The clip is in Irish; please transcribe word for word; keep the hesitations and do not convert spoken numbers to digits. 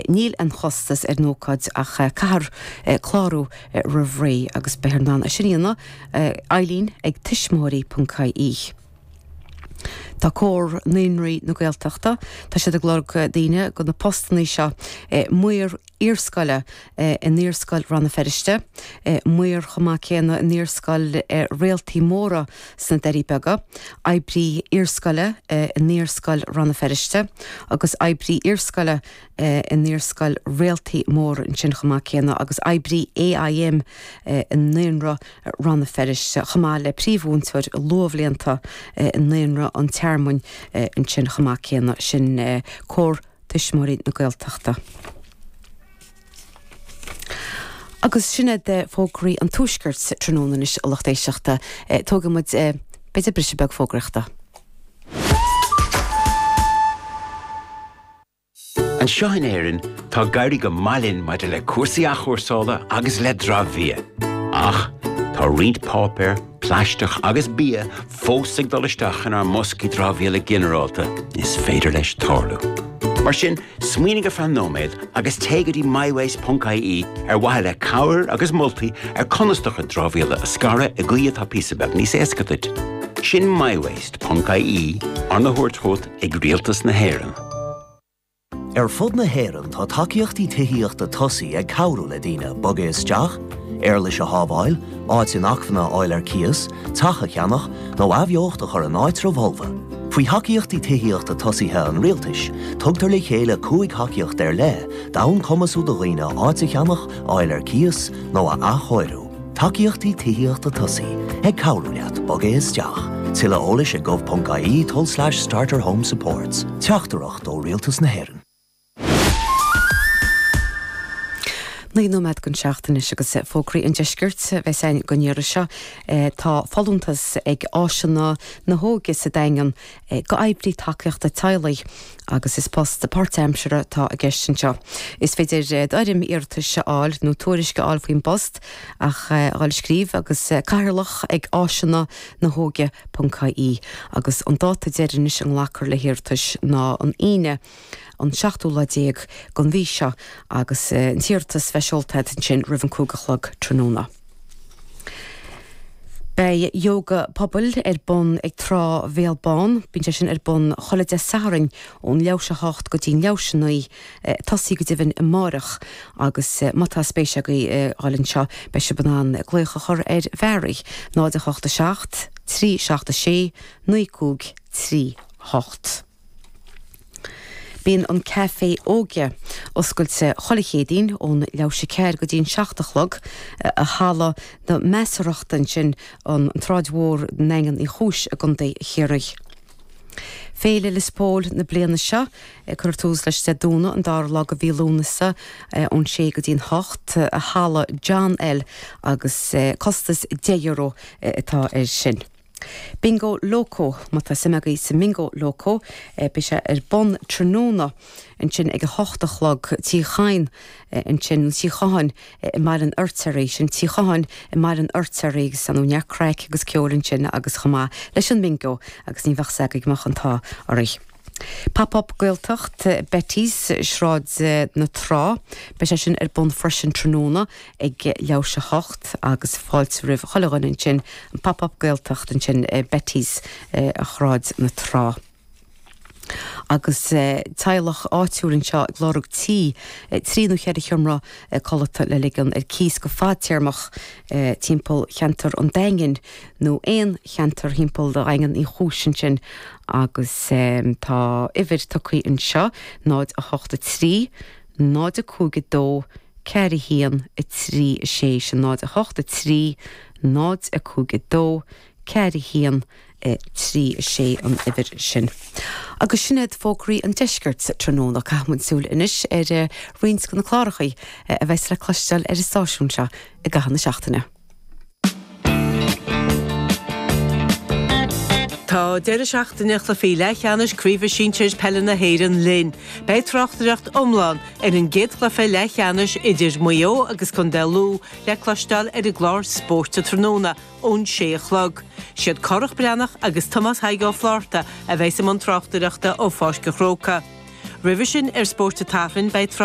Níl aon chostas ar an ócáid ach caithfear clárú roimh ré agus beifear in ann é sin a dhéanamh Eileen ag tuismitheoirí ponc ie. Tá Comhar Naíonraí na Gaeltachta, tá siad ag lorg daoine do na postanna seo maor iarscoile in Iarscoil Rann na Feirste, maor chomh maith céanna in Iarscoil Réaltaí Móra sna Doirí Beaga, oibrí iarscoile in Iarscoil Rann na Feirste agus oibrí iarscoile in Iarscoil Réaltaí Móra ansin chomh maith céanna agus oibrí AIM i Naíonra Rann na Feirste chomh maith le príomhmhúinteoir luathbhlianta i Naíonra an Tearmainn ansin chomh maith céanna sin Comhar Tuismitheoirí na Gaeltachta. Agus sin iad fógraí an Tuaiscirt tráthnóna anois a lucht éisteachta. Tógfaidh muid b'fhéidir briseadh beag fógraíochta. Anseo in Éirinn, tá ag éirí go maith linn maidir le cúrsaí athchúrsála agus le dramhbhia. Ach tá roinnt páipéar, plaisteach agus bia fós ag dul isteach inár mboscaí dramhaíola ginearálta. Is féidir leis tarlú. Mar sin, smaoinigh ar feadh nóiméad agus téigh go dtí mywaste ponc ie ar mhaithe le cabhair agus moltaí ar conas do chuid dramhaíola a scaradh i gcaoi atá píosa beag níos éasca duit. Sin mywaste ponc ie, arna thabhairt chugat ag Rialtas na hÉireann. Ar fud na hÉireann tá tacaíochtaí tithíochta tosaigh ag cabhrú le daoine bogadh isteach, éarlais a shábháil, áit inacmhainne a fháil ar cíos, teach a cheannach nó athbheocht a chur in áitreabh fholmha. Faoi thacaíochtaí tithíochta tosaithe an Rialtais, tugtar le chéile cúig thacaíocht ar leith d'fhonn cumasú do dhaoine áit a cheannach, a fháil ar cíos nó a athchóiriú. Tacaíochtaí tithíochta tosaigh, ag cabhrú leat bogadh isteach. Tuilleadh eolais ag gov.ie tulslais starter home supports. Teachtaireacht ó Rialtas na hÉireann. Naoi nóiméad don seacht anois agus fógraí an deiscirt a bheas againn don iarraidh seo. Tá folúntas ag Áiseanna na hÓige sa Daingean go oibrí tacaíochta teaghlaigh agus is post páirtaimseartha atá i gceist anseo. Is féidir d'fhoirm iarratais a fháil nó tuairisc a fháil faoin bpost ach a dhul ag scríobh agus cathaoirleach ag áiseanna na hóige ponc ie agus an dáta deireanach a nglacfar le hiarratais ná an Aoine an seachtú lá déag den mhí seo agus an t-iarratas bheith seolta agat ansin roimh an cúig a chlog tráthnóna. Beidh Yoga Pobail ar bun ag Trá Bhéal Bán. Bíonn sé sin ar bun chuile Dé Sathairn ón leathuair théis a hocht go dtí'n leathuair théis a naoi, tosaí go deimhin amáireach agus má tá spéis agaibh dhul anseo beidh sibh in ann glaoch a chur ar Mhary, náid a hocht a seacht, trí seacht a sé, naoi cúig trí hocht. Bíonn an Caifé Óige oscailte chuile Chéadaoin ón leathuair théis a ceathair go dtí'n seacht a chlog i Halla na Measarthachta ansin an tSráid Mhór i nDaingean Uí Chúis i gContae Chiarraí. Féile Lios Póil na bliana seo, cuirfear tús leis Dé Domhnaigh an dara lá de mhí Lúnasa ón sé go dtí'n hocht i Halla John L agus costas deich euro atá air sin. Bingo Loco, Má tá suim agaibh sa mBingo Loco, beidh sé ar bun tráthnóna ansin ag a hocht a chlog, Tigh Chadhain ansin, nó Tigh Chatháin i mBaile an Fheirtéaraigh, sin Tigh Chatháin i mBaile an Fheirtéaraigh agus ar ndóigh neart craic agus ceoil ansin agus chomh maith leis an mBingo agus ní bheadh 's agaibh go mbeadh an t-ádh oraibh. Pop Up Gaeltacht, Betty's, Sráid na Trá. Beidh sé sin ar bun freisin tráthnóna ag leathuair théis a hocht agus fáilte roimh chuile dhuine ansin, an Pop Up Gaeltacht ansin i Betty's, Sráid na Trá. Agus teaghlach áitiúil anseo ag lorg tí, trí nó cheithre sheomra codlata le ligean ar cíos go fadtéarmach timpeall cheantar an Daingin nó aon cheantar thimpeall Dhaingean Uí Chúis ansin agus tá uimhir tugtha anseo, náid a hocht a trí, náid a cúig a dó, ceathair a haon, a trí a sé, sin náid a hocht a trí, náid a cúig a dó, ceathair a haon, a trí a sé an uimhir sin. Agus sin iad fógraí an deiscirt tráthnóna. Caithfidh muid súil anois ar roinnt de na cláracha a bheas le cloisteáil ar an stáisiún seo i gcaitheamh na seachtaine. Tá deireadh seachtaine chluichí leathcheannais Craoibhe Sinsir Peile na hÉireann linn. Beidh tráchtaireacht iomlán ar an gcéad chluiche leathcheannais idir Maigh Eo agus Contae Lú le cloisteáil ar an gclár Spóirt tráthnóna ón sé a chlog. Siad Cárthach Breathnach agus Tomás Thaidhg Ó Flátharta a bheas i mbun tráchtaireachta ó Pháirc an Chrócaigh. Roimhe sin ar Spórt an tSathairn beidh trácht